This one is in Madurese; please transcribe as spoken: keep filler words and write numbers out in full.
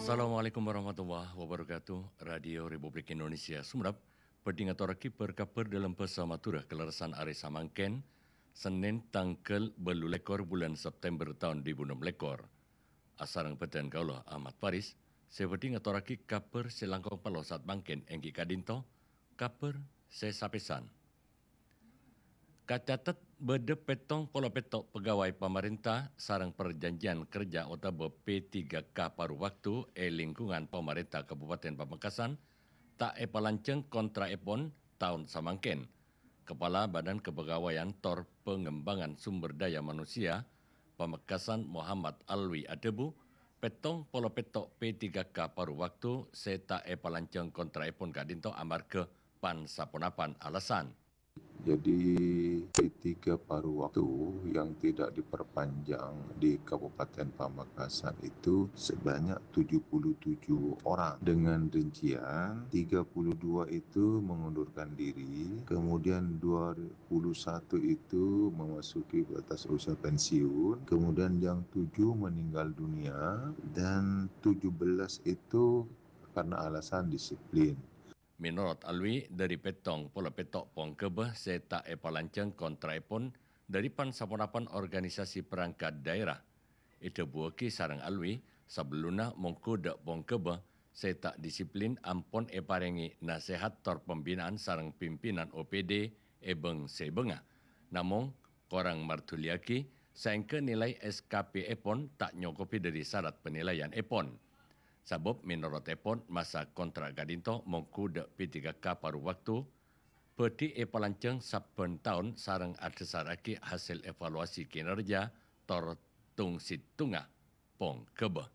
Assalamualaikum warahmatullahi wabarakatuh. Radio Republik Indonesia Sumenep bhâdhi ngatorraghi bâr-kabhâr dâlem bhâsa Madhurâ kalerressan arè samangkèn, Sennèn tangghâl bâllu lèkor bulân September taon duwâ èbu ennem lèkor. Asareng bhâdhân kaulâ Ahmad Faris, sè bhâdhi ngatorraghi kabhâr sè langkong parlo saat mangkèn èngghi ka'dinto, kabhâr sè sapèsan. Kacatet bâdâ pèttong polo pètto' pegawai pamarènta sareng parjhânjhiyân kerja otabâ P tiga K paru waktu è lingkungan pamarènta Kabupaten Pamekasan ta' èpalanjhâng kontra'èpon taon samangkèn. Kepala Badan Kepegawaian tor Pengembangan Sumber Daya Manusia, Pamekasan Muhammad Alwi adhâbu, pèttong polo pètto' P tiga K paru waktu sè ta' èpalanjhâng kontra'èpon ka'dinto amarghâ pan-saponapan alasan. Jadi, P tiga paru waktu yang tidak diperpanjang di Kabupaten Pamekasan itu sebanyak tujuh puluh tujuh orang, dengan rincian tiga puluh dua itu mengundurkan diri, kemudian dua puluh satu itu memasuki batas usia pensiun, kemudian yang tujuh meninggal dunia, dan tujuh belas itu karena alasan disiplin. Mènorot Alwi, dâri pèttong polo pètto' pongghâbâ sè ta' èpalanjhâng kontra'èpon dâri pan-saponapan organisasi perangkat daerah. Èdhâbuwâghi sareng Alwi, sabellunna mongghu dâ' pongghâbâ sè ta' disiplin ampon èparèngè nasèhat tor pembinaan sareng pimpinan O P D è bâng-sèbângnga. Namong, korang mardhuliyâghi, saèngghâ nilai S K P-èpon ta' nyokobhi dâri sarat penilaianèpon. Sabâb mènorotèpon masa kontrak ka'dinto mongghu dâ' P tiga K paru waktu, bhâdhi èpalanjhâng sabbhân taon sareng adhâsarraghi hasèl evaluasi kinerja tor tong-sèttongnga pongghâbâ.